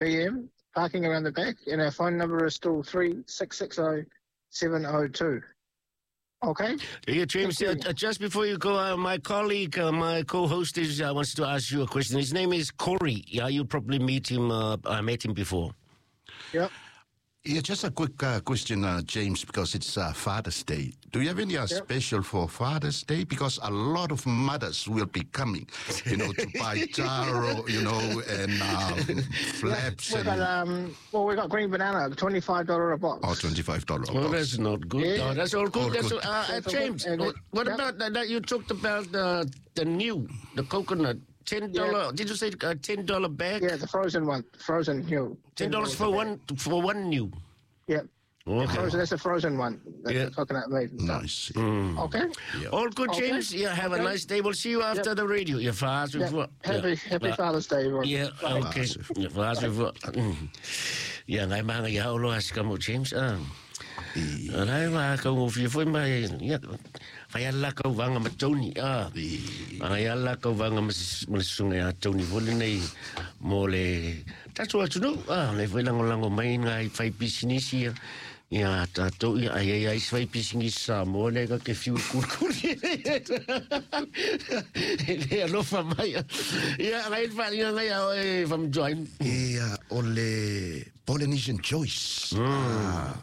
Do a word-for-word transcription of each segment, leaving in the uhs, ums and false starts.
p m. Parking around the back, and our phone number is still three six six zero seven zero two. Okay. Yeah, James, Thank you. uh, just before you go, uh, my colleague, uh, my co-host is, uh, wants to ask you a question. His name is Corey. Yeah, you probably meet him. Uh, I met him before. Yep. Yeah, just a quick uh, question, uh, James, because it's uh, Father's Day. Do you have any uh, Yep. special for Father's Day? Because a lot of mothers will be coming, you know, to buy taro, you know, and um, flaps We and got um. Well, we got green banana, twenty five dollar a box. Oh, twenty-five dollars a Well, box. that's not good. Yeah. Oh, that's all good. All That's good. all, uh, uh, That's all James, good. And what, what yep. about that, that you talked about uh, the new, the coconut, ten dollar? Did you say uh, ten dollar bag? Yeah, the frozen one, frozen niu. Ten dollars for a bag. one for one niu. Yep. Okay. Frozen. That's a frozen one. That's Yeah. the coconut made and stuff. Nice. Okay. All good, Okay. James. Yeah, have a Okay. nice day. We'll see you after Yep. the radio. Yeah, fast. Yeah. Happy Happy Yeah. Father's Day, everyone. Yeah, Bye. okay. Yeah, fast. Yeah, ngai manga ia olo asika mo James. Ah. Lai ma ka ngo fi foi mai ya fai ala ka vanga ma Tony ah. Ai ala ka vanga ma ma sunga ya Tony foi nei mo le tatu atu no ah le foi lango lango mai ngai fai business ia. Ia tātou ia ai ai ai fai business sa mo le ka ke fiu kurkuri. Le alofa mai. Ia ngai fa ia ngai e fam join. Ia, o le Polynesian Choice. Mm. Ah,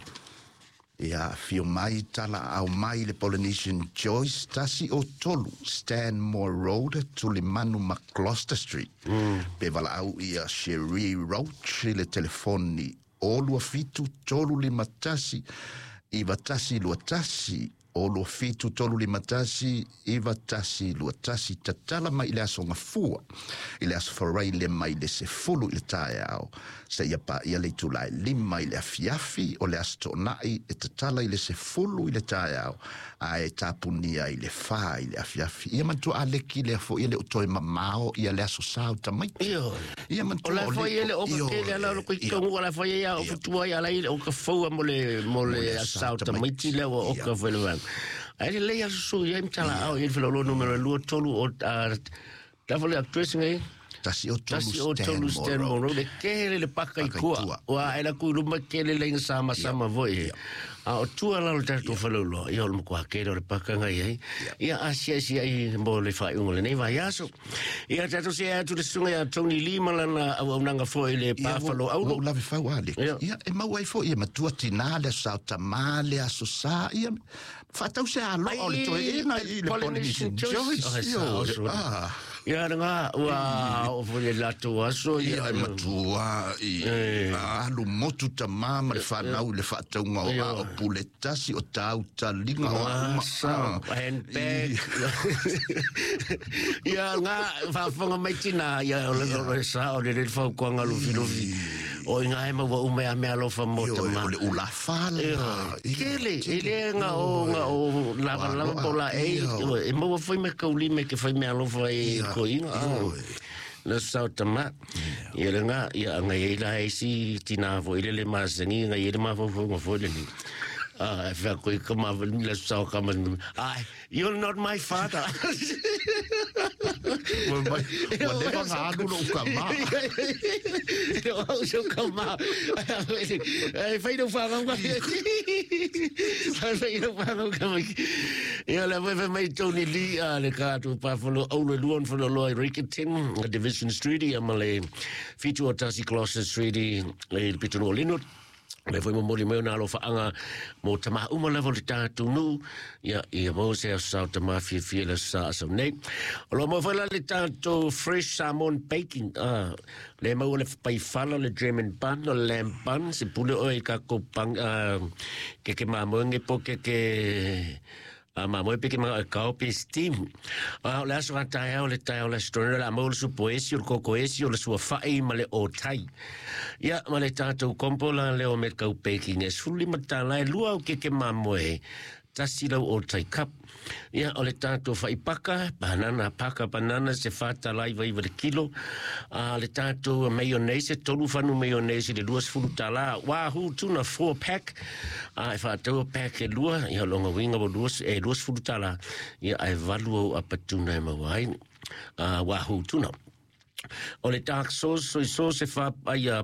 ia, fio mai tala au mai le Polynesian Choice, tasi o tolu, Stanmore Road, Tulimanu ma Gloucester Street. Mm. Pe vala au ia Cherie Roach, le telefoni o lua fitu tolu lima tasi, iva tasi lua tasi, o lua fitu tolu lima tasi, iva tasi lua tasi, tatala mai i le aso gafua, i le aso faraile mai le sefulu i le taeao, seia paia le itulā e lima i le afiafi, o le aso toonai e tatala i le sefulu i le taeao, ae tapunia i le fa i le afiafi. Ia matua aleki lea foʻi e le o toe mamao ia le aso sa o tamaiti. Io. Ia O matua la foi ele o ka kele ala o ko tongu ala foi ia o futua ia ala o ka fua mo le mo le asau tamaiti le o ka foi le vang. Ai le ia su ia mtala au ia felo lo numero lua tolu o ta foi le actress ngai. Tasi o tolu Tasi o tolu Stanmore Road e kele le paka i Paka i kua. tua. Ua ela ku luma kele le inga sama sama voi. A o tua la lo tatou falo lo. Ia o le makua kele o le paka ngai ai. Ia asia asia i mo le whai ungo le nei vai aso. Ia tatou se atu le sunga ia Tony Lee malana au au nanga foi le pāwhalo au au. Ua lave fau ale. Ia. Ia, e mau ai foi ia matua tinā le aso tamā le aso sā. Ia, whaatau se alo o le toe ena i le Polynesian Choice. Oh, Io, sa oso. Ah. Ia nga ua o foi le latou aso. Ia e matua i alu motu tamā ma le whanau le whaatauga o a o pule tasi o tau talinga o a uma. Sa, handbag. Ia nga whawhanga mai tina ia o le o le sa o le le whau kuanga lufi lufi. O inga e maua umea mea alofa mo Io, tama. o le ulafala. Kele, e le nga o nga o lava lava po la e e maua foi me kauli me ke fai mea alofa e ko inga. Na sa tama. Ia le nga ia nga e la e si tina fo ile le masangi nga ile ma fo fo fo le ni. Ah, fa ko ka ma le sa ka ma. Ah, you're not my father. Ua mai, ua leva nga alu lo uka ma. O so ka ma. E fai no fa nga. Fai no fa nga ma. Ia le foi mai Tony Lee a le ka tu pa fo lo au le luon fo lo Rickerton Division Street ia ma le fitu o tasi Gloucester Street i le pitunu o Linwood. Le foi momoli mai ona alofaʻaga mo tamā uma lava o le tatou nuu ia ia maua se aso sa tamā fiafia le aso sa asau nei. O lo mau foi la le tatou fresh salmon baking ah, le maua le paifala le German bun o le lamb bun se pule oe i kakou pang ah, keke mamoe po keke a ma mo pe ke ma ka pe steam a le aso ta e o le ta o le story la mo su poesi o koko esi o le sua fai ma le o tai ia ma le tatou kompo la le o me kau baking e suli matala e lua o keke mamoe tasi lau o tai cup. Ia o le tatou faipaka banana paka banana se fata lai vai le kilo a le tatou mayonnaise tolu fanu mayonnaise le lua sefulu tala wahoo tuna four pack a e faataua pack e lua ia longa winga o lua e lua sefulu tala ia ae valu au apatuna e maua ai a wahoo tuna. O le dark sauce soy sauce e fa ia ia